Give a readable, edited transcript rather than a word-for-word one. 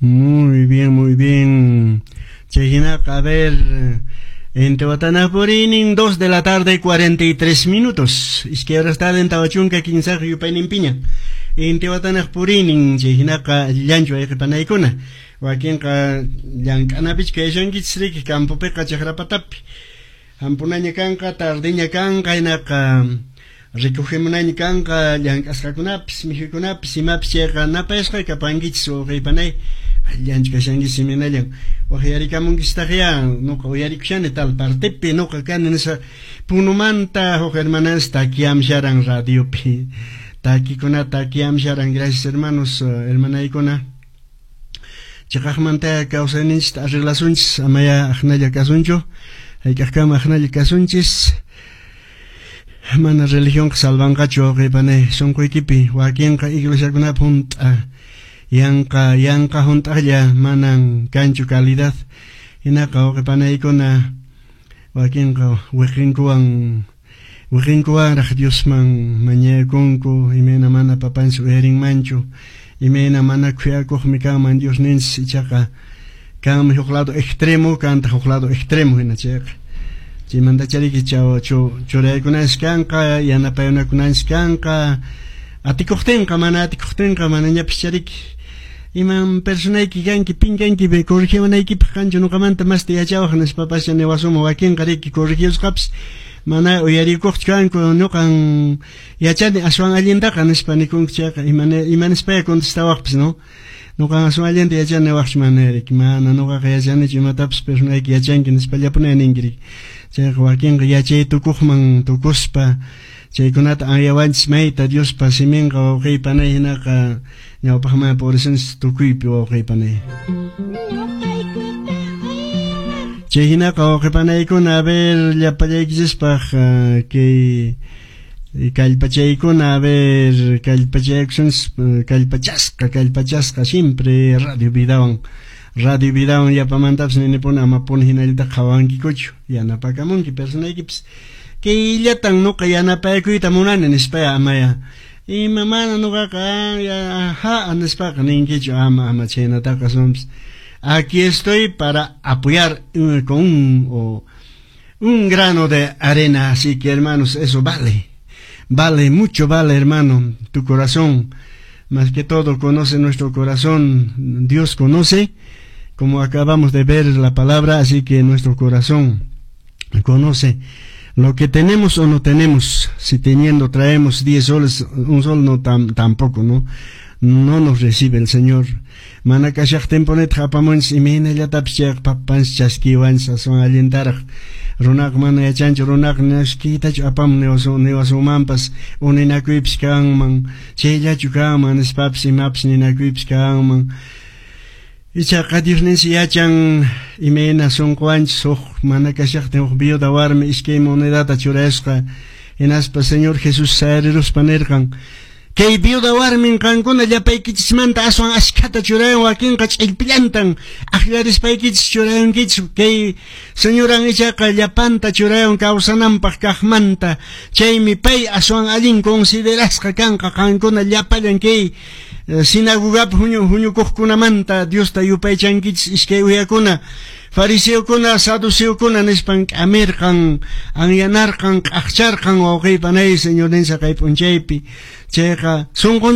Muy bien, muy bien. Chay hinaqa, a ver, Inti Watanaq puriynin, 2 de la tarde, 43 minutos. Iskay horas tarde, 43 yupayninpiña. Inti Watanaq puriynin, chay hinaqa allinchu wayqipanaykuna. Wakinqa llank'anapichu kayashankichis riki campopiqa chakrapatapi. Hampunaña kanqa, tardeña kanqa, hinaqa recogemunaña kanqa llank'asqakunapis, mikhuykunapis, imapis chayqa napayasqa kapankichis wawqiypanay. Allanchu kashankichis imaynallan. Waqyarikamunkistaq ya, nuqa uyarikushani tal partepi, nuqa kani nispa Punumanta huk hermanas takiamsharan radiopi. Takikuna takiamsharan, gracias hermanos, hermanaykuna. Chiqaqmanta kawsayninchista arreglasunchis, amaya aqnalla kasunchu. Hayk'aqkama aqnalla kasunchis. Mana religionqa salvanqachu wawqiypanay sunquykipi wakinqa iglesiakunapi hunt'a yanqa yanqa hunt'aqlla manan kanchu calidad hinaqa wawqipanaykuna wakinqa wiqinkuwan wiqinkuwanraq Diosman mañakunku imayna mana papanchis uyarinmanchu imayna mana khuyakuqmi kanman Diosninchis ichaqa kanmi huk lado extremo kantaq huk lado extremo hina chayqa chaymantachariki churaykunanchis kanqa yanapayunakunanchis kanqa atikuqtinqa mana atikuqtinqa manañapis chariki iman personayki kanki pin kanki corregiwanaykipaq kanchu nuqamanta masta yachawaq nispapascha niwasunman wakinqa riki corregiusqapis mana uyarikuqchu kanku nuqan yachani aswan allintaqa nispa nikunku chayqa ima nispaya contestawaqpis no nuqan aswan allinta yachani niwaqchu mana riki mana nuqaqa yachanichu imatapis personayki yachanki nispallapuni ninki riki chayqa wakinqa yachay tukuqman tukuspa chaykunata anyawanchis mayta Diospa siminqa wawqiypanay hinaqa ñawpaqman purisunchis tukuypi wawqiypanay. Chay hinaqa wawqipanaykuna a ver llapallaykichispaq kay kallpachaykuna a ver kallpachaykusunchis kallpachasqa kallpachasqa siempre Radio Vidawan Radio Vidawan llapamantapis ninipuni amapuni hinallata qhawankikuchu yanapakamunki personaykipis kayllatan nuqa yanapaykuyta munani nispaya amaya ima mana nuqaqa ha nispaqa ninkichu ama ama chaynataqa aswanpis aquí estoy para apoyar con un grano de arena, así que hermanos, eso vale, vale, mucho vale, hermano, tu corazón, más que todo conoce nuestro corazón, Dios conoce, como acabamos de ver la palabra, así que nuestro corazón conoce lo que tenemos o no tenemos. Si teniendo traemos 10 soles, un sol no tampoco, ¿no? No nos recibe el Señor. Mana kashaqtinpunitaq apamunchis imaynallatapis chayqa papanchis chaskiwanchis aswan allintaraq runaqa mana yachanchu runaqa naskiytachu apamun niwasunmanpas uninakuypis kanman chayllachu kanman nispapis imapis ninakuypis kanman ichaqa Diosninchis yachan imayna sunquwanchis huk mana kashaqtin huk viuda warmi iskay monedata churasqa hinaspa Señor Jesús sayariruspa nirqan kay viuda warmin qankuna llapaykichismanta aswan ashkhata churayan wakinqa ch'illpillantan akllarispaykichis churayankichis kay señoran ichaqa llapanta churayan kawsananpaq kaqmanta chaymi pay aswan allin considerasqa kanqa qankuna llapallan kay sinagogapi huñukuqkunamanta Diosta yupaychankichis iskay uyakuna fariseokuna saduceokuna nispan k'amirqan anyanarqan q'aqcharqan wawqiypanay Señorninchis kay p'unchaypi chayqa sunqun